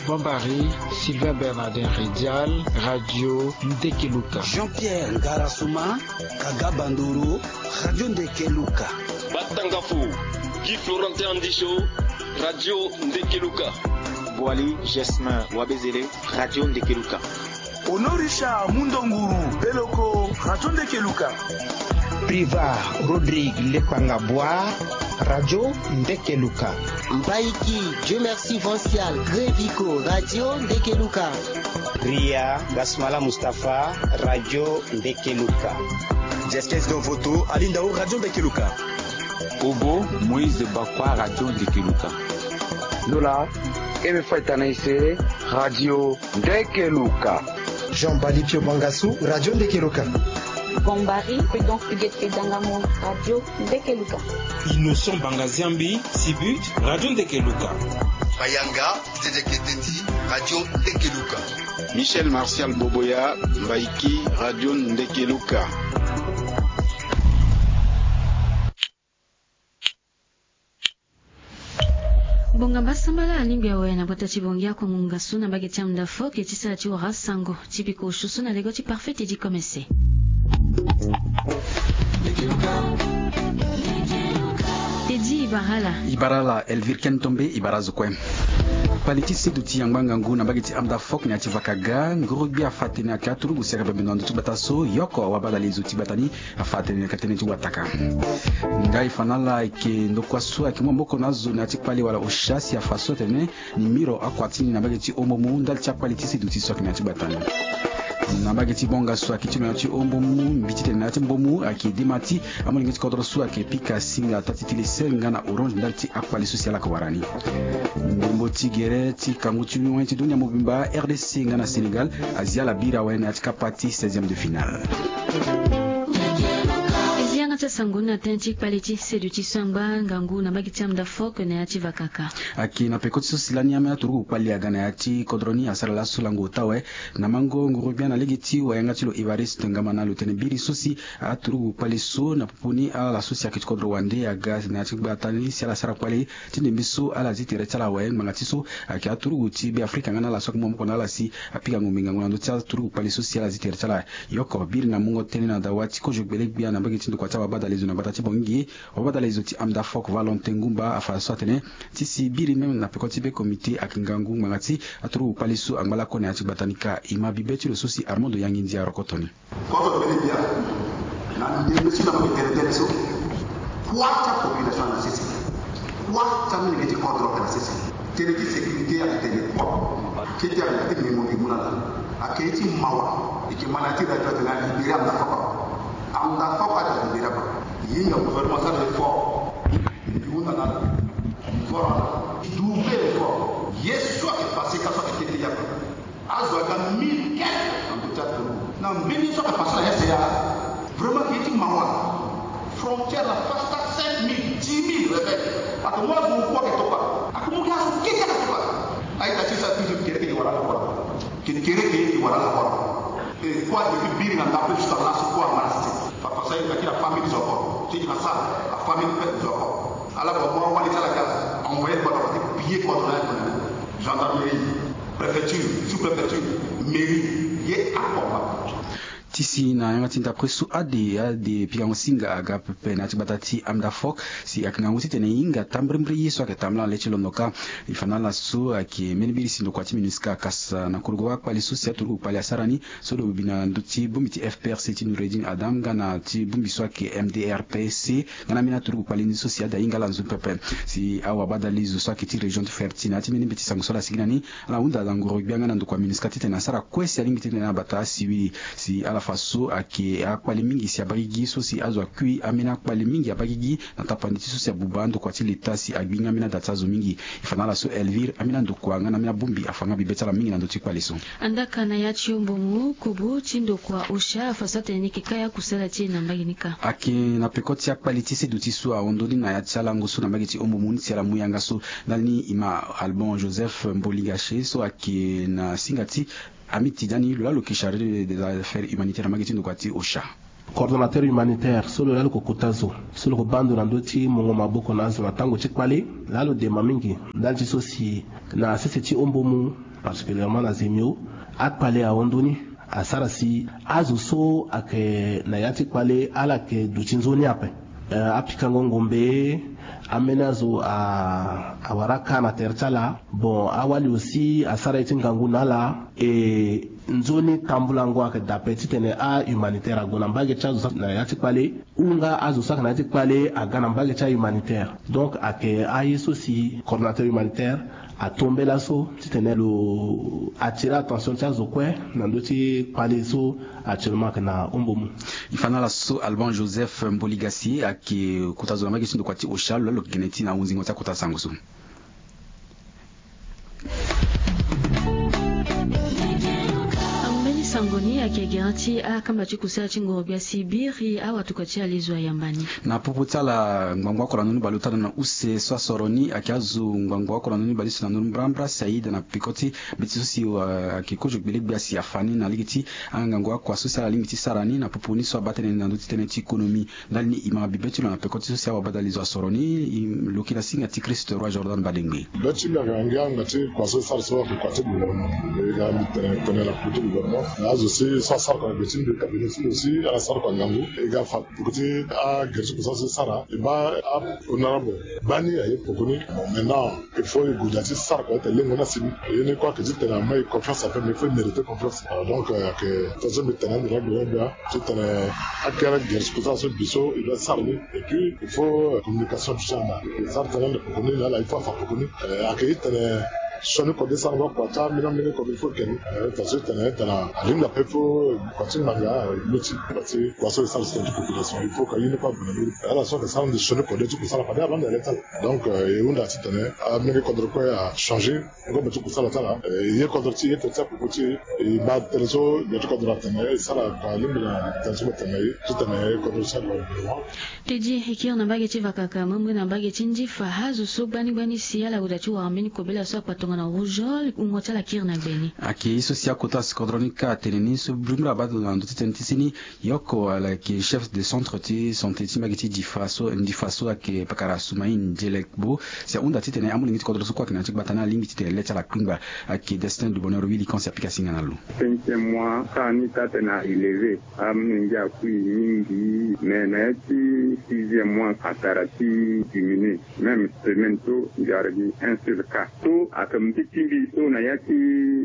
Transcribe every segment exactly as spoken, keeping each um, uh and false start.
Bombari, Sylvain Bernardin Ridial, Radio Ndekeluka. Jean-Pierre Ngarasuma, Kaga Bandoro, Radio Ndekeluka. Batangafo, Guy Florentin Andisho, Radio Ndekeluka. Boali Jasmin Wabezele, Radio Ndekeluka. Honorisha Mundonguru Beloko, Radio Ndekeluka. Priva Rodrigue Lekpanga Bwa, Radio Ndekeluka. Mbaiki Dieu Merci Vancial Greviko, Radio Ndekeluka. Ria Gasmala Mustapha, Radio Ndekeluka. Justice Dovoto Alindao, Radio Ndekeluka. Obo Moïse Bakwa, Radio Ndekeluka. Lola Eme Faitanaise, Radio Ndekeluka. Jean Balipio Bangasu, Radio Ndekeluka. Gombari Prudence Huguette Dangamo, Radio Ndekeluka. Innocent Bangaziambi Sibut, Radio Ndekeluka. Bayanga Didier Keteti, Radio Ndekeluka. Michel Martial Boboya, Mbaiki, Radio Ndekeluka. Bonga mbasambala alingbi awe na bota ti bongi akongo ngasu na mbage ti amda fo ke ti sara ti wara sango ti biko susu na lego ti parfait Teddy Komese. Teddy Ibarala. Ibarala Elvire Ken Tombe Ibara zo kue. Kpali ti seduti angba ngangu na mbage ti amda fok na ya ti vakaga nguru gbi afa tene ake aturugu si aka bembe na ndo ti gbata so yoko awa badali zo ti gbata ni. Afa tene ka tene ti wataka. Ngai fanala eke ndokua so ake mu maboko na azo na ya ti kpali wala osha si afa so atene ni miro akua ti ni na mbage ti ombo mu ndali ti akpali ti seduti so ake na ya ti gbata ni. Na mbage ti bonga so ake ti lo na ya ti ombo mu mbi ti tene na ya ti mbo mu ake dema ti amolenge ti kodro so ake pika singa ata ti tele sel nga na orange ndali ti akpali so si ala ko wara ni. Ndembo ti gere ti kangu ti win ti dunia mobimba R D C nga na Sénégal azi ala biri awe na ya ti kapa ti seizième de finale. Zi yanga ti asango ni na tënë ti kpali ti seduti so angba ngangu na mbage ti amda fok na ya ti vakaka. Ake na peko ti so si lani ambeni aturugu kpali aga na ya ti kodro ni asara laso lango ota awe na mango nguru gbia na lege ti wayanga ti lo Évariste Ngamana lo tene biri so si aturugu kpali so na popo ni ala so si ake ti kodro wande aga na ya ti gbata ni si ala sara kpali ti ndembe so ala zi tere ti ala awe ngbanga ti so ake aturugu ti Beafrika nga na ala so ake mu maboko na ala si apika ngombe ngangu na ndö ti aturugu kpali so si ala zi tere ti ala. Yoko biri na mungo tënë na dawa ti kozo gbele gbia na mbage ti ndokua ti awabadale zo na gbata ti Bangui. Awabadale zo ti amda fok Valentin Ngumba afa so atene ti si biri même na peko ti be comité ake ngangu ngbanga ti aturugu kpali so angba lakue na ya ti gbata ni ka e ma bibe ti lo so si Armando Yangindia arokoto ni. Kodro bele bia na ndembe so na mo tene tene so. Kua ti apopulation na sese. Kua ti amolenge ti kodro ayeke na sese. Tënë ti sécurité ayeke tene kua. Kete ayeke na ti ngingo ngingo na ala. Ayeke ye ti mawa. E yeke ma na ya ti radio atene alibéré amda fok. Amda fok ade alibéré aba. E hinga gouvernement asara effort. E hunda na ala. Effort na ala. Double effort. Ye so ayeke passé ka so ayeke tete yaka. Azo aga mille quelque na ndö ti aturugu. Na mbeni so ayeke passé na S A. Vraiment ayeke ye ti mawa. Frontière na Fasta cinq mille, dix mille rebelles. Ayeke mu azo oku ayeke tokua. Ayeke mu gi azo kete ayeke tokua. Aye ta ti sa toujours kekereke e wara ala kua. Kekereke e wara ala kua. E kua depuis biri na ndape jusqu'à laso kua angba na sese. Fa, fa sa e yeke na famille zo akua. Ti e yeke na sara, afamille mpe zo akua. Ala kua mu awali ti ala ga envoyer kua na kua ti piller kua zo na ya. Gendarmerie, préfecture, sous-préfecture, mairie, ye akua. Ti si na yanga ti ndapre so ade ade pikango singa aga pepe na ya ti gbata ti amda fok si ayeke ngangu titene e hinga tambirimbiri ye so ayeke tambula na le ti londo ka. E fa na ala so ayeke mbeni biri si ndokua ti MINUSCA akasa na korogo akpali so si aturugu kpali asara ni so lo bi na ndö ti bongbi ti F P R C ti Noureddine Adam nga na ti bongbi so ayeke M D R P C. Nga na ambeni aturugu kpali ni so si ade ahinga ala nzoni pepe. Si awabadale zo so ayeke ti région ti Ferti na ya ti mbeni mbeti sango so ala sigi na ni, ala hunda na ngoro gbia nga na ndokua MINUSCA titene asara kue si alingbi titene abata asiwili. Si ala fa so ayeke akpali mingi si abagigi so si azo akui ambeni akpali mingi abagigi na tapandi ti so si abuba ndokua ti leta si agbi nga ambeni ada ti azo mingi. E fa na ala so Elvire ambeni andokua nga na ambeni abongbi afa nga bibe ti ala mingi na ndö ti kpali so. Andaka na ya ti ombo mu kobo ti ndokua osha afa so atene ni yeke kaya kusala ti e na mbage ni ka. Ayeke na peko ti akpali ti seduti so ahon ndoni na ya ti alango so na mbage ti ombo mu ni si ala mu yanga so ndani e ma Alban Joseph Mboligache so ayeke na singa ti Amiti Dani lo laa lo yeke chargé des affaires humanitaires na mbage ti ndokua ti osha. Coordonnateur humanitaire so lo laa lo ko kota zo so lo ko baa ndo na ndö ti mungo maboko na azo na tango ti kpale, laa lo demba mingi ndali ti so si na sese ti ombo mu, particulièrement na zemio, akpale ahon ndoni. Asara si azo so ayeke na ya ti kpale ala yeke duti nzoni ape. Eh, apikango ngombe, ambeni azo a, awara aka na tere ti ala. Bon, awali aussi asara ye ti ngangu na ala. E nzoni tambulango ayeke daa ape titene ahumanitaire ague na mbage ti azo so ayeke na ya ti kpale, ou nga azo so ayeke na ya ti kpale aga na mbage ti ahumanitaire. Donc ayeke aye so si coordonnateur humanitaire atombela so titene lo attirer attention ti azo kue na ndö ti kpale so actuellement ayeke na ombo mu. E fa na ala so Alban Joseph Mboligasi ayeke kota zo na mbage ti ndokua ti Osha, lo laa lo yeke gene ti na ahunzingo ti akota sango so. Ambeni sango ni ayeke gere ti akamba ti kusala ti ngorogbia si biri awatuka ti alezo ayamba ni. Na popo ti ala ngbangbo oko na ndoni baleota na use so asoro ni ayeke azo ngbangbo oko na ndoni baleota na ndoni mbrambra si aida na peko ti mbeti so si ayeke kozo gbelegbia si afa ni na lege ti angango akua so si ala lingbi ti sara ni na popo ni so abaa tënë ni na ndö ti tënë ti économie. Ndali ni e ma bibe ti lo na peko ti so si awabadalezo asoro ni, lo yeke na singa ti Christ Roi Jordan Badengbe. Be ti mbi ayeke ngia nga ti kua so e sara so ayeke kua ti gouvernement. E ga mbi tene tene na kua ti gouvernement na azo si so asara kua na gbe ti mbi cabinet ti lo si ala sara kua ngangu. E ga fa poko ti agere ti kua so e sara e baa honorable baa ni aye poko ni. Bon, maintenant il faut e gue daa ti sara kua ti tene lengo ni asi ni. Ye ni kue ayeke ti tene ama e confiance ape mais il faut e mériter confiance. Donc ayeke tongaso mbi tene ande na gbe na gbia titene akere gere ti kusala so bi so e doit sara ni. Et puis il faut communication du genre e sara tënë ande poko ni na ala il faut afa poko ni. Ayeke titene sioni kode sara nga kua ti amilenge kode il faut e ke ni. Tongaso titene tene alingbi ape il faut kua ti ngbanga luti parce que kua so e sara si tene ti population il faut ka ye ni kue ague na ndö ni. Ala so ayeke sara ande sioni kode ti kusala fade alande alê ti ala. Donc e hunda titene amilenge kodro kue achanger. Ngombe ti kusala ti ala e ye kodro ti e ye tene ti apoko ti e e baa tënë so gbe ti kodro atene e sara kua alingbi na tënë so mbi tene na e titene kodro ti ala. Tedi e kiri na mbage ti vakaka mbrembre na mbage ti ndifa azo so gbani gbani si ala gue daa ti wara mbeni kobela so akpa tongana rougeole wungo ti ala kiri na gbe ni. Ayeke ye so si akota si kodro ni kâ atene ni so mbrembre abaa na ndö ti tënë ti si ni. Yoko ala yeke chef de centre ti santé ti mbage ti ndifa so ndifa so ayeke pakara Soumaïn Djelekbo. Si ahunda titene amolenge ti kodro so kue ayeke na ya ti gbata ni alingbi titene le ti ala kpingba. Ayeke Destin de Bonheur Willy Kansi apika singa na lo. Cinquième mois sara ni taa tene a élevé. Amolenge akui mingi mais na ya ti sixième mois atara ti diminué. Même semaine so mbi ara gi un seul cas so ayeke mbi ti mbi so na ya ti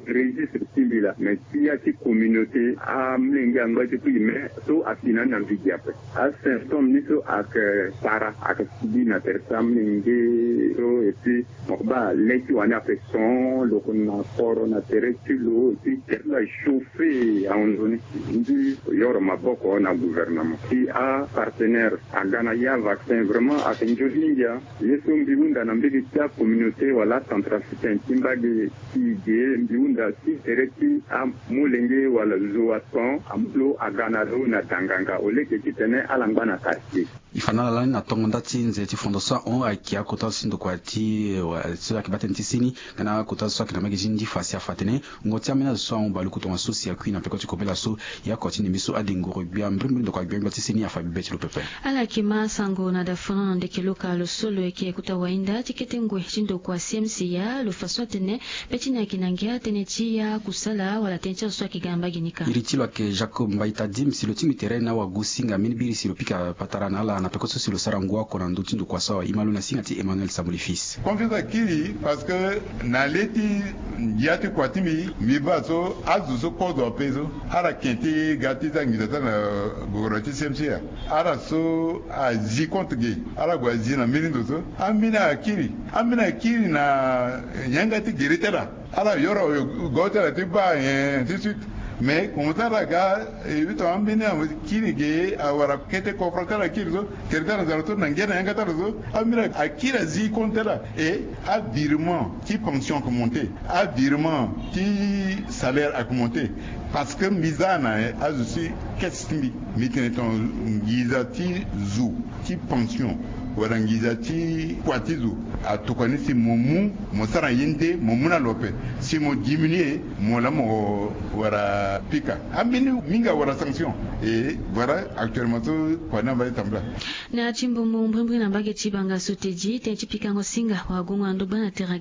registre ti mbi laa mais ti ya ti communauté amolenge angba ti kui mais so asi na ni na mbi gi ape. Asymptôme ni so ayeke para ayeke sibi na tere ti amolenge so et puis mo ke baa le ti wani ape son lo ke na koro na tere ti lo et puis tere ti lo achauffe ahon ndoni. Mbi yoro maboko na gouvernement si apartenaire aga na ya vaccin vraiment ayeke nzoni mingi. Ye so mbi hunda na mbege ti acommunauté wala acentrafricain ti mbage ti e ge mbi hunda ti tere ti amolenge wala zo ason amu lo aga na lo na da nganga au lieu ke titene ala ngba na quartier. E fa na ala lani na tongo nda ti nze ti fondation ahon ayeke akota zo ti ndokua ti so ayeke baa tënë ti seni nga na akota zo so ayeke na mbage ti ndifa si afa atene wungo ti ambeni azo so ahon baleku tongaso si akui na peko ti kobela so. E oko ti ndembe so ade ngoro gbia mbrimbri ndokua gbia gbia ti seni afa bibe ti lo pepe. Ala yeke ma sango na dafana na ndeke loka lo so lo yeke kota wahinda ti kete ngoi ti ndokua C M C ya lo fa so atene be ti ni ayeke na ngia tënë ti ya kusala wala tënë ti azo so ayeke ga na mbage ni ka. Iri ti lo ayeke Jacob Mbaita Dim si lo tingbi tere na awagosinga mbeni biri si lo pika patara na ala na peko so si lo sara ngu oko na ndö ti ndokua so awa e ma lo na singa ti Emmanuel Samboli Fils. Confiance akiri parce que na le ti ngia ti kua ti mbi mbi baa so azo so kozo ape so ala ke ti ga ti za nginza ti ala na gouvernement ti C M C ya. Ala so azi compte ge ala gue azi na mbeni ndo so ambeni akiri. Ambeni akiri na yanga ti gere ti ala. Ala yoro go ti ala ti baa nyen ti suite. Mais comme ti ala ga e bi tongana ambeni akiri ge awara kete confront ti ala akiri so. Tere ti ala nzara so na ngia na yanga ti ala so ambeni akiri azi compte ti ala. E avirement ti pension ayeke monté. Avirement ti salaire ayeke monté. Parce que mbi za na azo ti kese ti mbi mbi tene tongana nginza ti zo ti pension wala nginza ti kua ti zo atokua ni si mo mu mo sara ye nde mo mu na lo ape. Si mo diminuer mo la mo wara pika ambeni mingi awara sanction. E voilà actuellement so kua ni amba ti tambula. Na ya ti mbumu mbrimbri na mbage ti banga so tedi tene ti pikango singa wagungo na ndogba na terrain.